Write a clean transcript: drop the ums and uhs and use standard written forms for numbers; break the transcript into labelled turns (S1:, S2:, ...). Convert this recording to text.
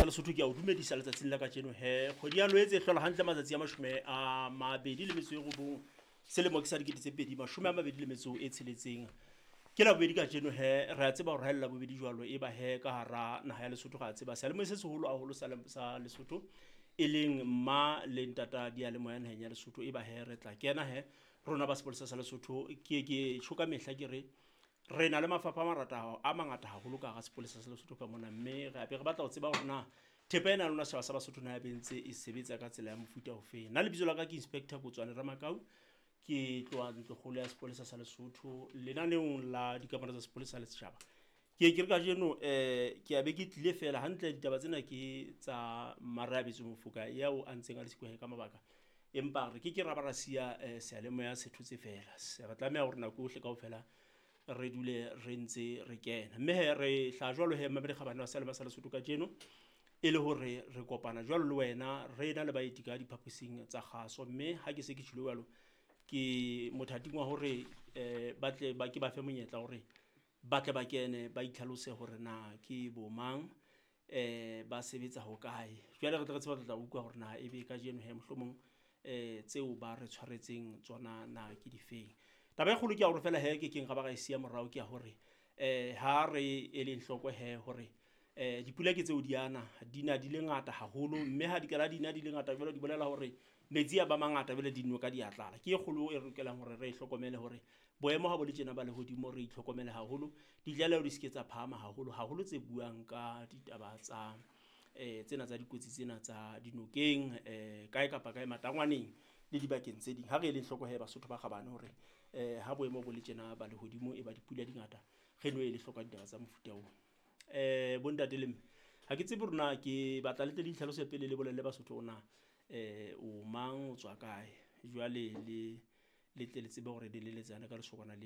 S1: Sa Lesotho ke a o dumedisa letsatsing la kajeno he. Kgwedi ya Loetse e hlola hantle matsatsi a 29 selemo ke sa 2026. Ke la bobedi kajeno he, re a tseba hore ha e le labobedi jwalo e ba he ka hara naha ya Lesotho re a tseba seyalemoya se seholo haholo sa Lesotho e leng mma le ntata diyalemoya naheng ya Lesotho e ba he re tla kena he rona ba sepolesa sa Lesotho ke ke tjho ka mehla ke re re na le mafapha a marata a mangata haholo ka hara sepolesa sa Lesotho ka mona, mme re abe re batla ho tseba hore na thepa ena ya lona setjhaba sa Basotho na e be ntse e sebetsa ka tsela ya mofuta ofeng. Nna lebitso la ka ke Inspector Kotswane Ramakau, ke tloha ntlokgolo ya sepolesa sa Lesotho lenaneong la dikamano tsa sepolesa le setjhaba. Ke ke re kajeno ke a be ke tlile fela hantle, ditaba tsena ke tsa Mmareabetswe Mofoka yao a ntseng a le siko ka mabaka, empa re ke ke ra ba ra siya seyalemoya se thotse fela. Re tlameha hore nako yohle kaofela re dule re ntse re kena, mme he re hla jwalo he mmamedi kgabane wa seyalemoya sa Lesotho kajeno e le hore re kopana jwalo le wena re na le baeti ka diphaposing tsa kgaso. Mme ha ke se ke tjhilo jwalo ke mothating wa hore ba tle ba ke ba fe monyetla hore ba tle ba kene ba itlhalose hore na ke bo mang, ba sebetsa hokae. Jwale re tle re tsebe re tla utlwa hore na ebe kajeno he mohlomong tseo ba re tshwaretseng tsona na ke difeng. Taba e kgolo ke ya hore fela he ke keng ra ba ra e siya morao ke ya hore ha re eleng hloko he hore dipula ke tseo di ana di na di le ngata haholo, mme ha di kala di na di le ngata jwalo di bolela hore metsi a ba mangata jwale dinoka di a tlala. Ke e kgolo e re lokelang hore re e hlokomele hore boemo ha bo le tjena ba lehodimo re itlhokomele haholo, ditlaleho di se ke tsa phahama haholo haholo tse buang ka ditaba tsa tsena tsa dikotsi tsena tsa dinokeng kae kapa kae matangwaneng le dibakeng tse ding. Ha re eleng hloko he Basotho ba kgabane hore ha boemo bo le tjena ba lehodimo e ba dipula di ngata, re no ele hloko ditaba tsa mofuta oo. Bontate le mme, ha ke tsebe hore na ke batla le tle le itlhalose pele le bolelle Basotho hore na o mang, o tswa kae, jwale le tle le tsebe hore le leletsane ka lesokwana lena.